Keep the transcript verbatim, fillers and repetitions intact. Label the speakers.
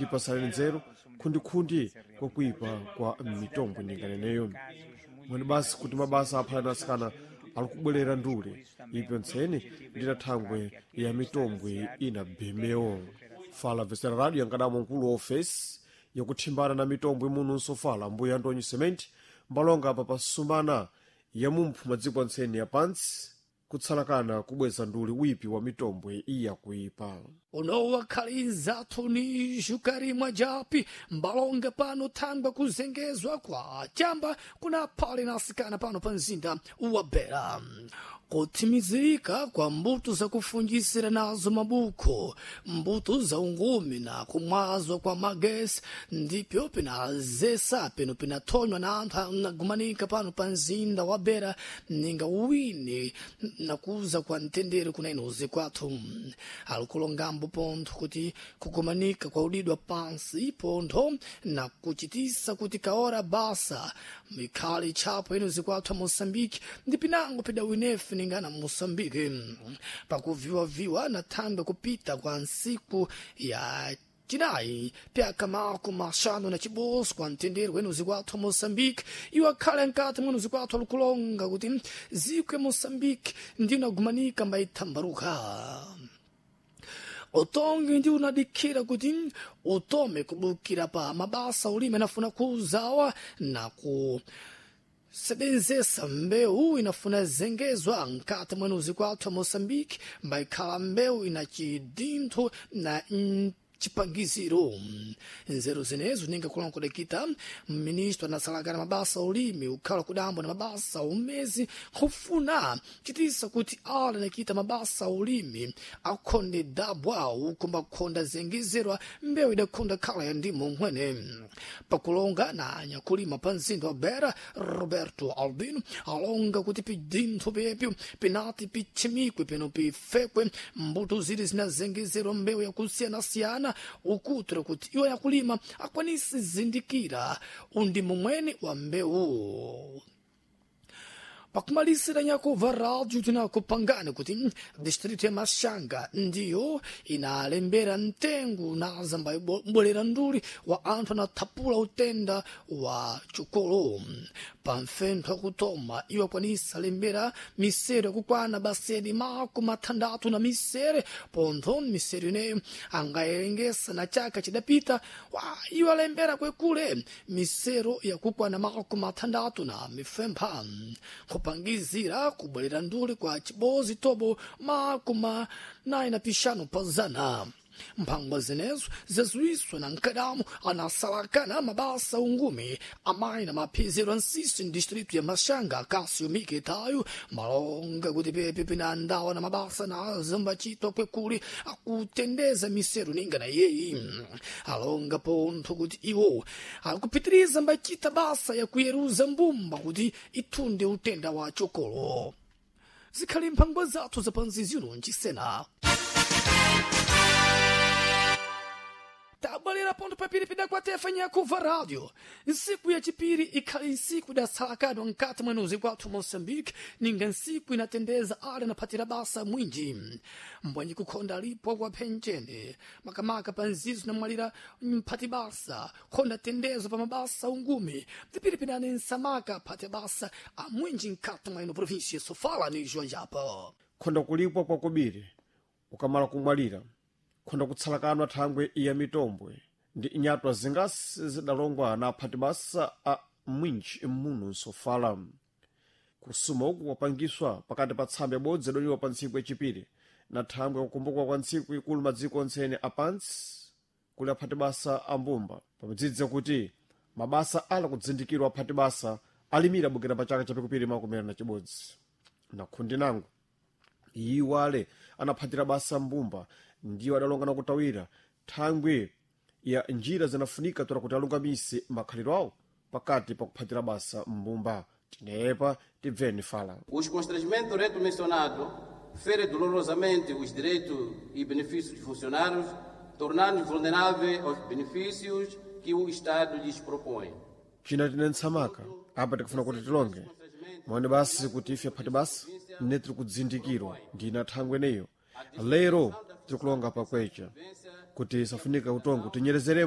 Speaker 1: Tipasaleni nzeru khundikhundi kwakuipa kwa mitombo ndinganeneyo mwene basi kuti mabasa aphalani asikana ali kubwerera ndule ipyo ntseni ndina thangwe ya mitombwe ina bemewo. Fala vesera radio yankadamo mkulu wa ofesi yakuthimbana na mitombwe muno nsofala mbuya Antonio Cement mbalonga apa pasumana ya mumphu madziko antseni ya pansi kutsalakana kubweza nduli wipi wa mitombwe iyakuipa.
Speaker 2: Unowakhaliza ni xukarimwa japi mbalonga pano thangwa kuzengezwa kwa chamba kuna phale na asikana pano pa mzinda wa Bera, kutsimizika kwa mbuto zakufunjisira nazo mabuko, mbuto za ungumi na kumwazwa kwa magesi ndipyo pinazesa pino pinathonywa na anthu anagumanika pano pa mzinda wa Bera ninga uwini nakuza kwa mtendere kuna inozi kwathu. Alikulongambo pontho kuti kugumanika kwa udidwa pansi pontho na kuchitisa kuti kaora basa mikhali tchapo inozi kwathu a Moçambique ndi pinango pidawinefe ningana Moçambique pakuviwaviwa na thangwe kupita kwa nsiku ya cinayi pyaka mako maxanu na ciboso kwa mtendere wenuzi kwathu a Moçambique iwo akhale nkati mwenuzi kwathu alikulonga kuti ziko ya Moçambique ndiyo inagumanika mbayithambaruka. Utongi ndi unadikhira kuti utome kubukira pa mabasa ulimi anafuna kuzawa na ku sebenzesa mbewu inafuna zengezwa nkati mwenuzi kwathu a Moçambique mbayikhala mbewu ina cidintho na chipangiziro. Nzeru zinezo ninga kulonkodekita ministro anasalakana mabasa ulimi ukhala kudambwa na mabasa umezi kufuna chitisa kuti ala nakita mabasa ulimi akhonde dabwa uko makhonda zengezerwa mbewu idakhonda khala ya ndimo nkhwene. Pakulonga na anyakulima pa mzinda wa Bera, Roberto Albino alonga kuti pidintho pyepyo pinati pichimikwe pino pifekwe mbuto zili zinazengezerwa mbewu yakusiyanasiyana ukutra kuti iwo yakulima akwanise zindikira undimo mwene wa mbewu. Pakumalisira nyakuva rádio tinakupangani kuti distrito ya Machanga ndiyo inalembera mtengo naza mbwerera nduli wa anthu anathapula utenda wa chukolo pamfentho akutoma. Iwo akwanisa lembera misero yakukwana basedi mako mathandatu na misere pontho misero ineyo angayerengesa na chaka chidapita wa iwo alembera kwekule misero yakukwana mako mathandatu na mifempha kupangizira kubwerera nduli kwa chibozi tobo makumi nayi na pixanu pa zana. Mphangwa zinezo zazuiswa na nkadamu anasalakana mabasa ungumi amayi na maphiziro ansisi mdistritu ya Machanga, Cássio Mikitayo malonga kuti pepe pina ndawa na mabasa na zambachitwa kwekuli akutendeza misero ninga na yeyi. Alonga pontho kuti iwo akupitiriza mbachita basa yakuyeruza mbumba kuti ithunde utenda wa chokolo. Zikhali mphangwa zathu zapanzizino nchisena tabwalera ponto papiri pidakwatefa nyakuva rádio. Nsiku ya chipiri ikhali nsiku idatsalakadwa nkati mwenuzi kwathu Moçambique ninga nsiku inatendeza ale naphatira basa mwinji mbwanyi kukhonda alipo kwa phenjene makamaka pa nzizo namwalira mphati basa khonda tendezo pa mabasa ungumi tipiripinane nsamaka phati basa amwinji nkati mwa ino província Sofala ni Joanjapa.
Speaker 1: Khonda kulipwa kwakubiri ukamala kumwalira khonda kutsalakanwa thangwe ya mitombwe ndi inyatwa zingasi zidalongwa na aphati basa a mwinji muno nsofala. Kusuma uku kwapangiswa pakati pa tsamba ibodzi idoliwa pa ntsiku yachipiri na thangwe yakukumbukwa kwa ntsiku ikulu madziko ontsene apansi kuli aphati basa a mbumba pamadzidza kuti mabasa ala kudzindikirwa aphati basa alimira bukira pa chaka chapikupiri makumi na chibodzi na khundi nango iwo ale anaphatira basa mbumba ndiwo adalonga nakutawira thangwe ya njira zinafunika tora kuti alungamise makhaliro awo pakati pakuphatira basa mbumba. Tinepa tibveni fala.
Speaker 3: Os constrangimentos reto mencionado fere dolorosamente os direitos e benefícios dos funcionários, tornando-os vulneráveis aos benefícios que o Estado lhes propõe.
Speaker 1: China tine ntsamaka apa tikufuna kuti tilonge mwaone basi kuti ife aphati basa ne tiri kudzindikirwa ndina thangwe neyo lero tiri kulonga pakwecha. Kuti safunika utongo tinyerezerembo.